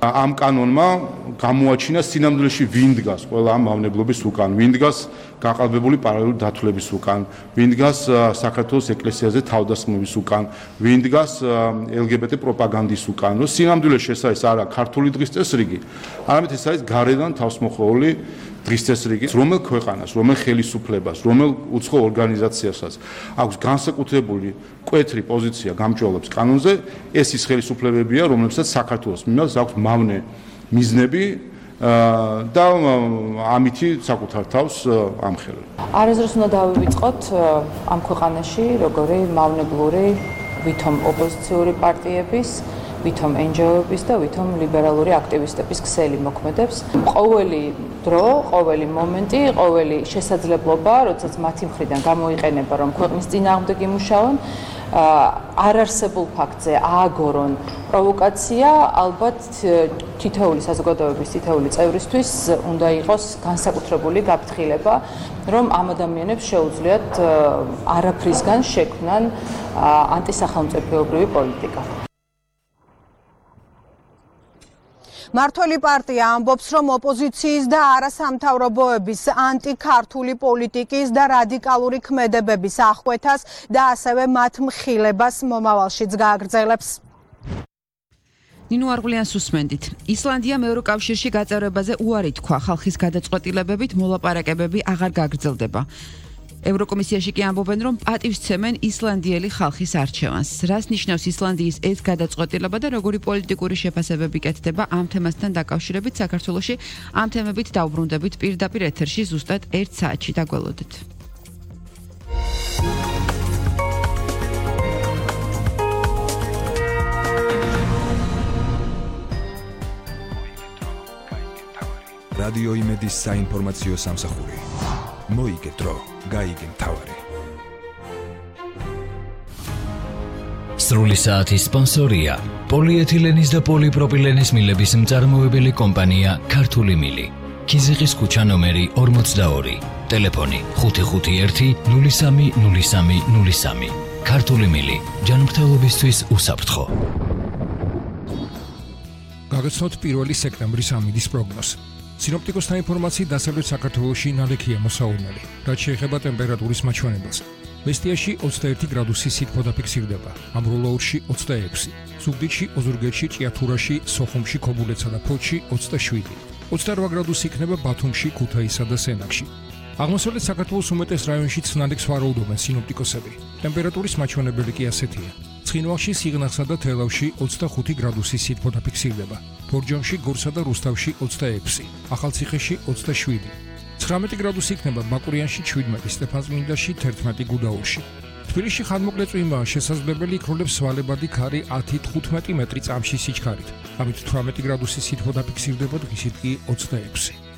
Am კანონმა გამოაჩინა სინამდვილეში ვინ დგას ყველა ამ მავნებლობის უკან, ვინ დგას გაყალბებული პარალელური დათვლების უკან, ვინ დგას საქართველოს ეკლესიაზე თავდასხმების უკან, ვინ დგას LGBT პროპაგანდის უკან. რომ სინამდვილეში ეს არის არა ქართული დღის წესრიგი, არამედ ეს არის გარედან თავსმოხვეული დღის წესრიგი, რომელ ქვეყანას, რომელ ხელისუფლებას, რომელ უცხო ორგანიზაციასაც აქვს განსაკუთრებული მკვეთრი პოზიცია გამჭვირვალებს კანონზე, ეს ის ხელისუფლებებია, რომლებსაც საქართველოს მიმართ აქვს მავნე მიზნები და ამითი საკუთარ თავს ამხელებს. არასდროს უნდა დავივიწყოთ ამ ქვეყანაში როგორი მავნებლური ვითომ ოპოზიციური პარტიების ვითომ NGO-ების და ვითომ ლიბერალური აქტივისტების ქსელი მოქმედებს. ყოველი დრო, ყოველი მომენტი, ყოველი შესაძლებლობა, როდესაც მათი მხრიდან გამოიყენება, რომ ქვეყნის წინააღმდეგ იმუშავონ, არარსებულ ფაქტზე ააგორონ პროვოკაცია, ალბათ თითოეული საზოგადოების თითოეული წევრისთვის უნდა იყოს განსაკუთრებული გაფრთხილება, რომ ამ ადამიანებს შეუძლიათ არაფრისგან შექმნან ანტისახელმწიფოებრივი პოლიტიკა. მართველი პარტია ამბობს, რომ ოპოზიციის და არასამთავრობოების ანტიქართული პოლიტიკის და რადიკალური ქმედებების აღკვეთას და ასევე მათ მხილებას მომავალშიც გააგრძელებს. ნინო არღულიანს უსმენდით. ისლანდიამ ევროკავშირში გაწევრებაზე უარი თქვა, ხალხის გადაწყვეტილებებით მოლაპარაკებები აღარ გაგრძელდება. ევროკომისიაში კი ამბობენ, რომ პატივსცემენ ისლანდიელი ხალხის არჩევანს. რას ნიშნავს ისლანდიის ეს გადაწყვეტილება და როგორი პოლიტიკური შეფასებები კეთდება ამ თემასთან დაკავშირებით საქართველოში? ამ თემებით დავბრუნდებით პირდაპირ ეთერში ზუსტად 1 საათში. დაგველოდეთ. რადიო იმედის საინფორმაციო სამსახური. მოიგე დრო, გაიგე მთავარი. სრული საათის სპონსორია პოლიეთილენის და პოლიპროპილენის მილების მწარმოებელი კომპანია ქართული მილი. ქიზიყის ქუჩა ნომერი 42, ტელეფონი 551 03 03 03. ქართული მილი, ჯანმრთელობისთვის უსაფრთხო. გაგაცნოთ 1 სექტემბრის ამინდის პროგნოზი. სინოპტიკოსთა ინფორმაციით დასავლეთ საქართველოში ნალექია მოსაუბრებელი, რაც შეეხება ტემპერატურის მაჩვენებელს. მესტიაში 21 გრადუსი სითბო დაფიქსირდება, ამბროლაურში 26, ზუგდიდში, ოზურგეთში, ჭიათურაში, სოხუმში, ქობულეთსა და ფოთში 27, 28 გრადუსი იქნება ბათუმში, ქუთაისსა და სენაკში. აღმოსავლეთ საქართველოს უმეტეს რაიონშიც ნალექს ვარაუდობენ სინოპტიკოსები. ტემპერატურის მაჩვენებელი კი ასეთია. ცხინვალში, სიღნაღსა და თელავში 25 გრადუსი სითბო დაფიქსირდება, ბორჯომში, გორსა და რუსთავში 26, ახალციხეში 27, 19 გრადუსი იქნება ბაკურიანში 17, სტეფანწმინდაში 11, გუდაურში. თბილისში ხანმოკლე წვიმაა შესაძლებელი, იქროლებს სვალებადი ქარი 10-15 მეტრი წამში სიჩქარით. ამით 18 გრადუსი სითბო დაფიქსირდება, დღისით კი 26.